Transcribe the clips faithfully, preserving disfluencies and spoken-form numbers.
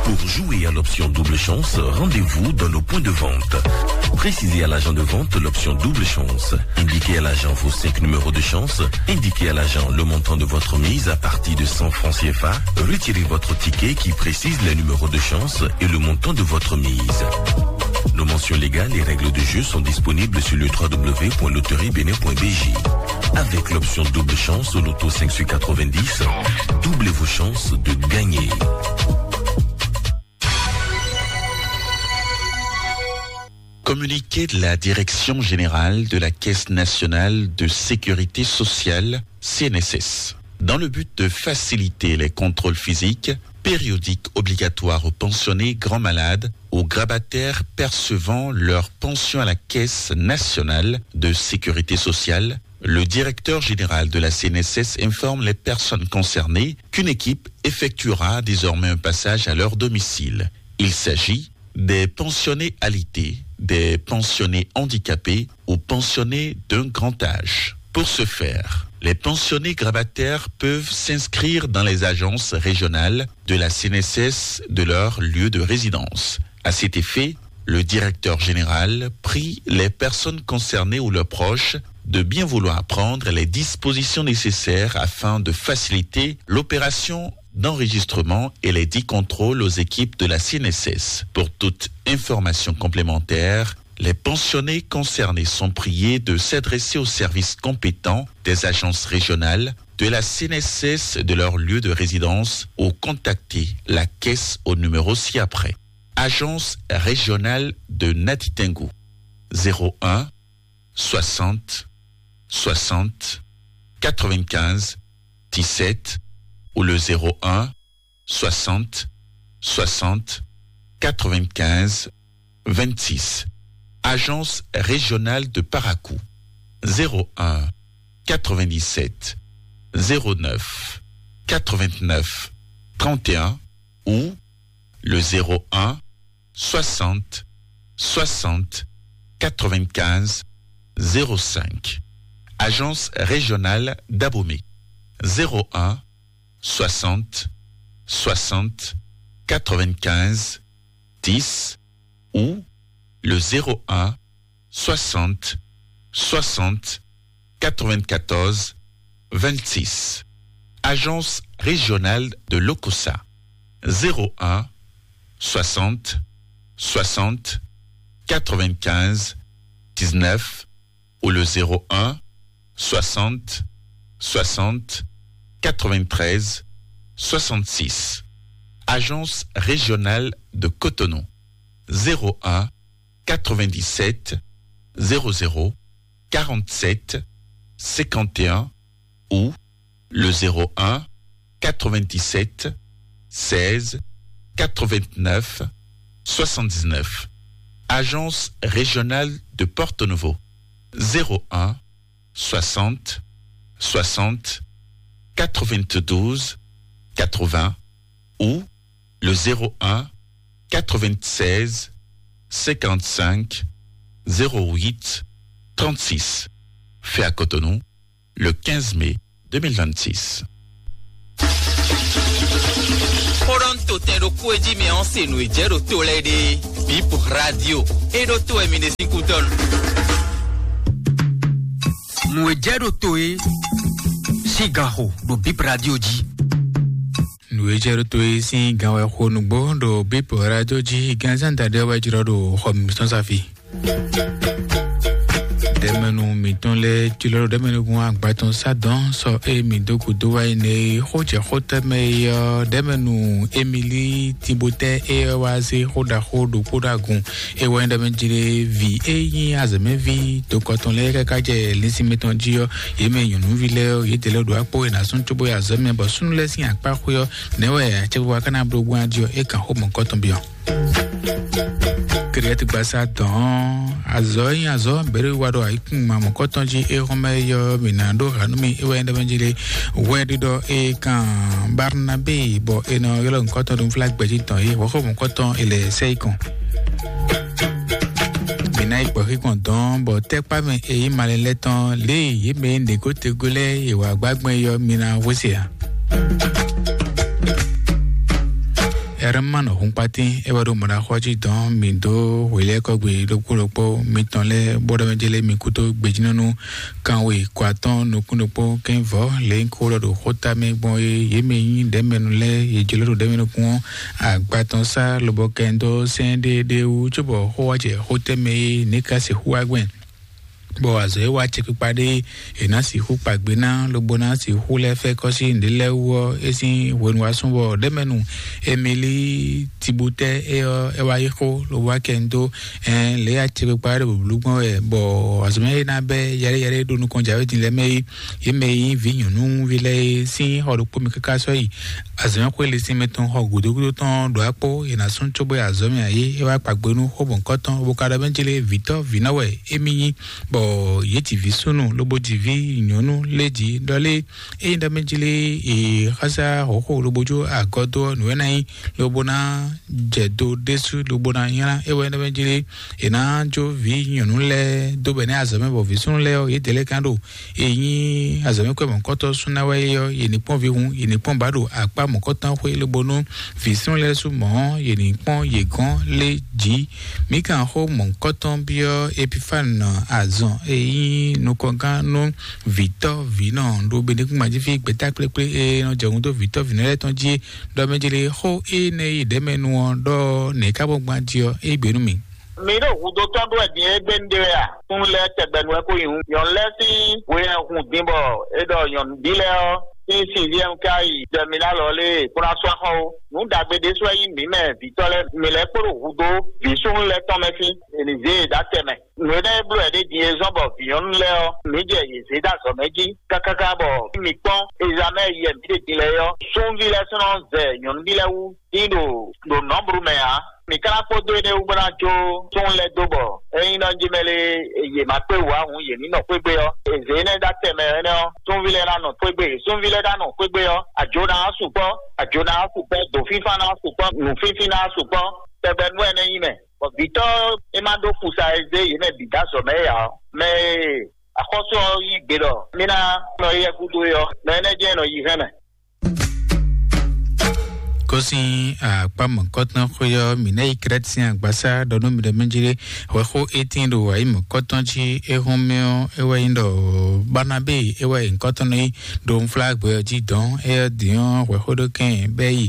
Pour jouer à l'option double chance, rendez-vous dans nos points de vente. Précisez à l'agent de vente l'option double chance. Indiquez à l'agent vos cinq numéros de chance. Indiquez à l'agent le montant de votre mise à partir de cent francs C F A. Retirez votre ticket qui précise les numéros de chance et le montant de votre mise. Nos mentions légales et règles de jeu sont disponibles sur le trois W point loterie bénin point B J. Avec l'option double chance au loto cinq sur quatre-vingt-dix, doublez vos chances de gagner. Communiqué de la Direction générale de la Caisse nationale de sécurité sociale, C N S S. Dans le but de faciliter les contrôles physiques, périodiques obligatoires aux pensionnés grands malades, aux grabataires percevant leur pension à la Caisse nationale de sécurité sociale, le directeur général de la C N S S informe les personnes concernées qu'une équipe effectuera désormais un passage à leur domicile. Il s'agit des pensionnés alité, des pensionnés handicapés ou pensionnés d'un grand âge. Pour ce faire, les pensionnés grabataires peuvent s'inscrire dans les agences régionales de la C N S S de leur lieu de résidence. À cet effet, le directeur général prie les personnes concernées ou leurs proches de bien vouloir prendre les dispositions nécessaires afin de faciliter l'opération d'enregistrement et les dix contrôles aux équipes de la C N S S. Pour toute information complémentaire, les pensionnés concernés sont priés de s'adresser aux services compétents des agences régionales de la C N S S de leur lieu de résidence ou contacter la caisse au numéro ci-après. Agence régionale de Natitingou, zéro un, soixante, soixante, quatre-vingt-quinze, dix-sept ou le zéro un, soixante, soixante, quatre-vingt-quinze, vingt-six. Agence régionale de Parakou, zéro un, quatre-vingt-dix-sept, zéro neuf, quatre-vingt-neuf, trente et un ou le zéro un, soixante, soixante, quatre-vingt-quinze, zéro cinq. Agence régionale d'Abomey, zéro un, soixante, soixante, quatre-vingt-quinze, dix ou le zéro un, soixante, soixante, quatre-vingt-quatorze, vingt-six. Agence régionale de l'OCOSA, zéro un, soixante, soixante, quatre-vingt-quinze, dix-neuf ou le zéro un, soixante, soixante, quatre-vingt-treize, soixante-six. Agence régionale de Cotonou, zéro un, quatre-vingt-dix-sept, zéro zéro, quarante-sept, cinquante et un ou le zéro un, quatre-vingt-dix-sept, seize, quatre-vingt-neuf, soixante-dix-neuf. Agence régionale de Porto Novo, zéro un, soixante, soixante, quatre-vingt-douze, quatre-vingts ou le zéro un, quatre-vingt-seize, cinquante-cinq, zéro huit, trente-six. Fait à Cotonou, le quinze mai deux mille vingt-six. Xó ɖɔ nú to tɛn ɖokpó e jí mi ɔ́ se nǔ e jɛ ɖo to lɛ́ɛ ɖe. Bip Radio. E ɖo to wɛ mi ɖe sín kútɔ́ nu. Nǔ e jɛ ɖo to e sín gan xo ɖo Bip Radio jí. Nǔ e jɛ ɖo to e sín gan wɛ xo nǔgbó ɖo Bip Radio jí. Gan zán da ɖe wɛ jlɔ́ ɖo xɔ mǐtɔn safi. Ɖɛmɛnu mǐtɔn lɛ́ɛ jlɔ́ ɖo ɖɛmɛnu gun agbatɔn sá dɔn sɔ e mǐ dó gǔdo wá yi nɛ e xó jɛ xó tɛ́ mɛ e ɔ́, ɖɛmɛnu Emili Tibotɛ e ɔ́ wá zé xó ɖaxó ɖokpó ɖo agun. E wɛ nyí ɖɛmɛ jlé vi e nyí azɔ̌mɛví dokɔtɔn lɛ́ɛ káká jɛ linsin mǐtɔn jí ɔ́, yě mɛ nyɔ̌nuví lɛ́ɛ ɔ́, yědɛɛ lɛ́ɛ ɖo akpó e nǎ zɔ́n cóbó yi azɔ̌ mɛ, bɔ súnnu lɛ́ɛ sín akpá xwé ɔ́, nɛ̌ wɛ acɛkpikpa ka ná bló gbɔn jí ɔ́, é kan xó mɔ̌kɔtɔn byɔ́. Kɛɖɛtɛgbasa dɔn azɔ̌ e nyí azɔ̌ bɛ̌ɖewiwa ɖo ayǐkúngban mɔ̌kɔtɔn jí é hɔn mɛ yɔ mǐ ná ɖó ha nú mì é wɛ nyí ɖɔ mɛ jí lé hwɛ ɖiɖɔ é kan Barnabé bɔ è nɔ ylɔ́ nǔkɔtɔn ɖo nflá gbɛ̌jí tɔn é hɔ̌xɔ mɔ̌kɔtɔn è lɛ sɛ yi kɔn. Mǐ ná yi gbɔ xíkɔn dɔn bɔ tɛ́kpá mɛ è yí malɛ lɛ́ɛ tɔn lě e yě mɛ e nǐgótegó lɛ́ɛ è wǎ gbá gbɔn é yɔ mǐ ná hwesé ǎ. Ɛrɛmánɔ Hunkpatín é wɛ ɖo mɔ̌ɖaxó ɔ́ jí dɔn mì dó hwelɛ́kɔ́gbe ɖokpó ɖokpó mitɔn lɛ́ɛ bó ɖɔ mɛ jɛ lé mi kúdó gbejínɔ́nú kanwe kɔ atɔ́ɔ́n nukún ɖokpó kɛ́n vɔ̌ lě ko ɖɔ ɖo xóta mɛ gbɔn é yě mɛ nyí ɖɛ̌mɛnu lɛ́ɛ yě jló ɖo ɖɛ̌mɛnu kún ɔ́ agba tɔn sá lobɔ kɛ n dó sɛ́n ɖéeɖée wú cóbɔ xó wá jɛ xó tɛ́ mɛ é ní ka sixú wá gbɛn. Bɔ azɔ̌ e wá acɛkpikpa ɖé è nǎ sixú kpa gbe ná lobo ná sixú lɛ́ fɛ́ kɔ́ sín nǔɖé lɛ́ɛ wú ɔ́, é sín hwenu wá sún bɔ ɖɛ̌mɛnu Emilí Tibutɛ́ é ɔ́, é wá yí xó lobo wá kɛ n dó ɛn lě acɛkpikpa ɖé bǔblú gbɔn wɛ, bɔ azɔ̌ mɛ é ná bɛ́ yɛɖéyɛɖé ɖo nukɔn jǎwe din lɛ́ɛ mɛ é, yě mɛ e nyí vǐ nyɔ̌nuví lɛ́ɛ é sín xɔ ɖokpó mɛ káká sɔ́ yi azɔ̌mɛxwé linsin mɛ tɔn xɔ gǔdo gúdo tɔn ɖo akpó, è nǎ sún cóbɔ azɔ̌ mɛ ǎ é, é wá kpa gbe nú xó mɔ̌hunkɔtɔn, bó ka ɖɔ mɛ jlé vǐtɔ́ vǐnɔ wɛ émí nyí, bɔ yě ji vǐ súnnu lobo ji vǐ nyɔ̌nu lé jí ɖɔ lé, ényí ɖɔ mɛ jlé è xásá hǒxo lobo jó agɔ́ dó ɔ́, nǔ e ná nyí lobo ná jɛ do ɖésú lobo ná nylá é wɛ ɖɔ mɛ jlé è nǎ jó vǐ nyɔ̌nu lɛ́ɛ dó bɛ nɛ́ azɔ̌ mɛ, bɔ vǐ súnnu lɛ́ɛ ɔ́, yědɛɛ lɛ́ɛ ka ɖo e nyí azɔ̌mɛxwé mɔ̌hunkɔtɔn súnná wɛ é ɔ́, yě ní kpɔ́n vǐ hun, yě ní kpɔ́n bǎ ɖo akpá mɔ̌hunkɔtɔn xwé lobo nú vǐ súnnu lɛ́ɛ sú mɔ̌, yě ní kpɔ́n yě gɔ́n lé jǐ. Mǐ kan xó mɔ̌hunkɔtɔn byɔ́ Epifane azɔn e nyí nukɔngán nú vǐtɔ́ vǐnɔ ɖo Benɛkúngban jí fí gbɛ̌ta kplékplé e nɔ jɛ hun dó vǐtɔ́ vǐnɔ lɛ́ɛ tɔn jí é, ɖɔ mɛ jlé xó énɛ́ e ɖɛ̌ mɛ nu ɔ́ ɖɔ nɛ̌ ká bɔ gbán jí ɔ́, é gbe nú mì. Mi ɖo hudó tɔn ɖó wɛ din e gbé un ɖe wɛ a? Sun lɛ́ɛ tɛgbɛ nu wɛ ko nyi hun. Nyɔ̌nu lɛ́ɛ sín we hɛn hun din bɔ é ɖɔ nyɔ̌nuví lɛ́ɛ ɔ́ sín sinvyɛ́n ka yi dɛmilálɔ lé kplá sɔ́ axɔ ó. Nǔ ɖagbe ɖésú wɛ nyí mǐ mɛ vǐtɔ́ lɛ́ɛ. Mi lɛ́ kpo ɖo hudó vǐ súnnu lɛ́ɛ tɔn mɛ sín. È nǐ zé e ɖó atɛ mɛ. Nǔ énɛ́ e bló wɛ ɖé din e zɔ́n bɔ vǐ nyɔ̌nu lɛ́ɛ ɔ́, mǐ jɛ yě zé ɖó azɔ̌ mɛ jí kákáká bɔ mǐ kpɔ́n ezamɛ yɛ mǐ ɖe din lɛ́ɛ é ɔ́, súnví lɛ́ɛ sɔ́ nɔ zɛ nyɔ̌nuví lɛ́ɛ wú dín ɖo ɖo nɔ̌blu mɛ ǎ. Mǐ ka ná kpódó énɛ́ wú bó ná jó súnnu lɛ́ɛ dó bɔ ényí nɔ jí mɛ lé yě ma kpé wǔ ǎ hǔn yě ní nɔ xwé gbe ɔ́, è zě énɛ́ ɖó atɛ mɛ énɛ́ ɔ́, súnví lɛ́ɛ ná nɔ xwé gbe. Súnví lɛ́ɛ ná nɔ xwé gbe ɔ́, ajo ná sukpɔ́, ajo ná sukpɔ́, dǒfínfán ná sukpɔ́, nǔfínfín ná sukpɔ́, tɛgbɛ nú ɛnɛ́ nyí mɛ. Bɔ vǐtɔ́ é má ɖó fusa e zé yě mɛ bǐ dó azɔ̌ mɛ é ǎ ɔ́, mɛ e axɔ́sú ɔ́ yí gbe ɖɔ mí ná nɔ éyɛ́ gúdo é ɔ́, mɛ énɛ́ jɛ́n nɔ yi hɛn mɛ. Kósin akpá mɔ̌kɔtɔn xwé ɔ́, mǐ ná yi Krɛ́t sín agbasá ɖɔ nú mi ɖɔ mɛ jlé hwɛxó étín ɖo ayǐ mɔ̌kɔtɔn jí é hɔn mɛ ɔ́, é wɛ nyí ɖɔ Barnabé é wɛ nyǐkɔtɔn nɔ nyí ɖo unflágbɛ ɔ́ jí dɔ̌n. Éyɛ́ din ɔ́, hwɛxó ɖó kɛn bɛ́ yi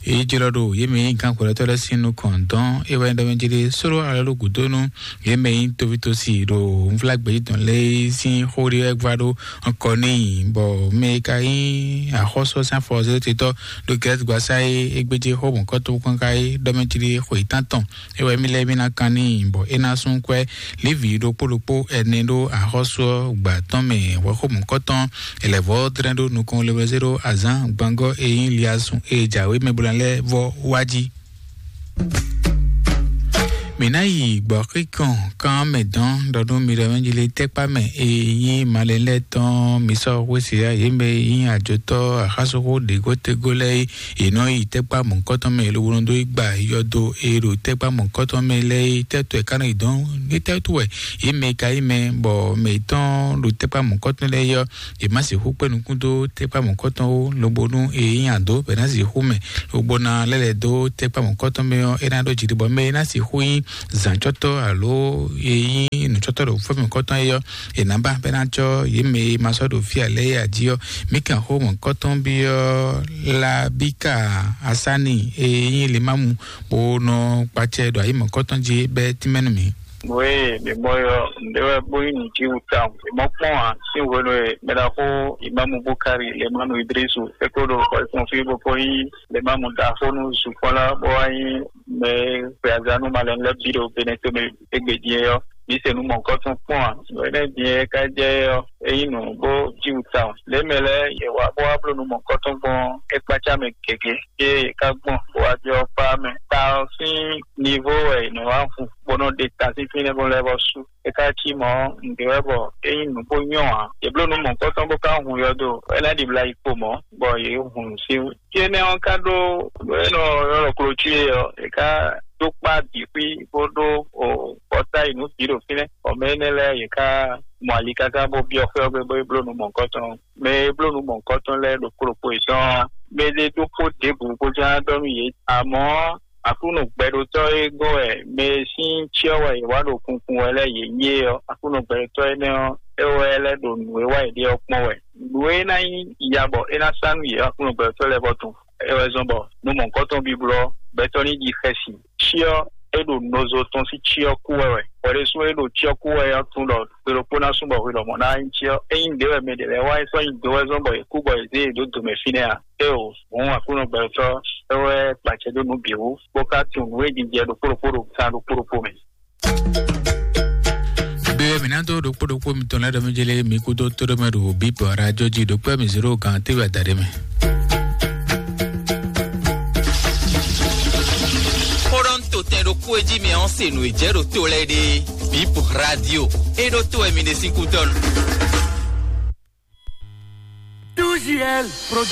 é jlɔ́ ɖo yě mɛ nyí gǎnxwlɛ́tɔ́ lɛ́ɛ sín nukɔn dɔ̌n. É wɛ nyí ɖɔ mɛ jlé sóló alɔ ɖo gǔdo nú yě mɛ nyí tovítosi ɖo unflágbɛ jí dɔ̌n lɛ́ɛ sín xó ɖé wɛ gbá ɖó kɔ n'i, bɔ mɛ e ka nyí axɔ́sú ɔ́ sín afɔzɛ́tetɔ́ ɖo Gɛ́lɛ́tigbasá é, é gbéjé xó mɔ̌kɔ́tɔn kɔn ká é ɖɔ mɛ jlí xwe tántɔn. É wɛ mí lɛ́ɛ mí ná kan n'i, bɔ é ná sú kwɛ́ Lévi ɖokpó ɖokpó ɛnɛ ɖó axɔ́sú ɔ́ gbǎ tɔn mɛ. Hwɛxó mɔ̌kɔ́tɔn Elɛvɔ́ dlɛ́n ɖó nukɔn lewezé ɖó azǎn gbangɔ́ e nyí Liasun e jǎwe mɛ bo ná lɛ́ɛ vɔ wá jí. Mǐ ná yi gbɔ̌xíkɔn kan mɛ dɔn ɖɔ nú mi ɖɔ mɛ jlé tɛ́kpá mɛ e nyí malɛ lɛ́ɛ tɔn mi sɔ́ xwé se yá yě mɛ e nyí ajotɔ́ axásoxó ɖěgótegó lɛ́ɛ é, yě nɔ yi tɛ́kpá mɔ̌kɔtɔn mɛ lobo nɔ dó yi gba yɔdo e ɖo tɛ́kpá mɔ̌kɔtɔn mɛ lɛ́ɛ é. Tɛ́tɔ́ ɛ ka nɔ yi dɔn ní tɛ́tú wɛ yě mɛ e ka nyí mɛ bɔ mɛ yětɔn ɖo tɛ́kpá mɔ̌kɔtɔn lɛ́ɛ é ɔ́, yě má sixú kpé nukún dó tɛ́kpá mɔ̌kɔtɔn ó, lobo nú e nyí adǒ bɔ é ná sixú mɛ, lobo ná lɛ́ lɛ̌ dó tɛ́kpá mɔ̌kɔtɔn mɛ ɔ́, é ná ɖó jiɖiɖɔ mɛ e ná sixú nyí zǎncɔ́tɔ́ alo e nyí nǔcɔ́tɔ́ ɖo fɛ́ mɔ̌kɔtɔn é ɔ́, è nǎ ba bɔ é ná cɔ́ yě mɛ e ma sɔ́ ɖo fí ǎ lɛ́ɛ é ají ɔ́. Mǐ kan xó mɔ̌kɔtɔn byɔ́ Labíka Asáni e nyí Limámu bó nɔ kpacɛ ɖo ayǐ mɔ̌kɔtɔn jí bɛ́ tínmɛ nú mǐ. Wěe mǐ mɔ ɔ́, nǔɖé wɛ bó nyí nǔjíwǔ tawun. Mǐ mɔ kpɔ́n ǎ, sín hwenu e mɛɖaxó Imámu Bukari Lemánu Idrisu é kó ɖo xɔ e kpɔ́n fí bó kó nyí Lemámu ɖaxó nú zukpɔ́n lá, bó wá nyí mɛ e xwe azǎn nú malɛnu lɛ́ɛ bǐ ɖo Benɛtome égbé din é ɔ́, mǐ se nǔ mɔ̌hunkɔtɔn kpɔ́n ǎ. Nǔ énɛ́ din e ka jɛ é ɔ́, é nyí nǔ bó cí wú tawun. Lě mɛ lɛ́ɛ yě wá bó wá bló nǔ mɔ̌hunkɔtɔn gbɔn é kpácá mɛ gěgé. Ée yě ká gbɔn bó wá byɔ́ kpá mɛ. Ta ɔ́ sín nivo wɛ è nɔ wá hu bó nɔ́ ɖe ta sín fínɛ́ bó lɛ́ vɔ sú. É ka cí mɔ̌, nǔɖé wɛ bɔ é nyí nǔ bó nyɔ́ ǎ. Yě bló nǔ mɔ̌hunkɔtɔn bó ka hun yɔdo, é ná ɖibla yi kpo mɔ̌, bɔ yě hun nǔ sín wú. Fí énɛ́ ɔ́ ka ɖó nǔ e nɔ ylɔ́ klocí é ɔ́, è ka dó kpá bǐ xwí bó ɖó o bɔ́ta yi nǔ bǐ ɖo fínɛ́. Bɔ mɛ énɛ́ lɛ́ɛ yě ka mɔ ali káká bó byɔ́ xwé ɔ́ gbe bó yi bló nǔ mɔ̌hunkɔtɔn. Mɛ e bló nǔ mɔ̌hunkɔtɔn lɛ́ɛ ɖokpó ɖokpó yětɔn ɔ́, mɛ ɖé ɖokpó ɖěbǔ bó ján ɖɔ nú yě. Amɔ̌, Aklúnɔ gbɛɖotɔ́ e gɔ́n wɛ mɛ e sín cyɔ wɛ yě wá ɖo kunkun wɛ lɛ́ɛ yě nyí é ɔ́, Aklúnɔ gbɛɖotɔ́ énɛ́ ɔ́, é wɛ lɛ́ ɖo nǔ e wa yě ɖe ɔ́ kpɔ́n wɛ. Nǔ e ná nyí ya bɔ é ná sá nú yě ɔ́, Aklúnɔ gbɛɖotɔ́ lɛ́ɛ vɔ tunwun. É wɛ zɔ́n bɔ nú mɔ̌hunkɔtɔn bíblɔ́ gbɛtɔ́ ní ɖi xɛsi. Cyɔ é ɖo nɔzo tɔn sín cyɔ kú wɛ wɛ. Hwɛ ɖésú é ɖo cyɔ kú wɛ ɔ́ tunwun ɖɔ gbe ɖokpó ná sú bɔ hwe lɔmɔ̌ ná nyí cyɔ. Ényí nǔɖé wɛ mɛ ɖě lɛ́ɛ wa é sɔ́ nyí do wɛ zɔ́n bɔ yě kú bɔ yě zé yě dó do mɛ fínɛ́ ǎ. Éeǒ, hǔn Aklúnɔ gbɛtɔ́ é wɛ kpacɛ dó nǔ bǐ wú, bó ka tunwun nǔ e jijɛ ɖokpó ɖokpó ɖo gan ɖokpó ɖokpó mɛ. Be wɛ mǐ ná dó ɖokpó ɖokpó mitɔn lɛ́ɛ ɖɔ mí jélé mǐ kúdó tóɖó mɛ ɖo bǐ bɔ radio jí ɖokpó mì zéro gan téwɛ adaɖé mɛ. Xó ɖɔ ń to tɛn ɖokpó e jí mi ɔ́ se nǔ e jɛ ɖo to lɛ́ɛ ɖe. Bip radio. E ɖo to wɛ mi ɖe sín kútɔ́ nú. Two G L Production.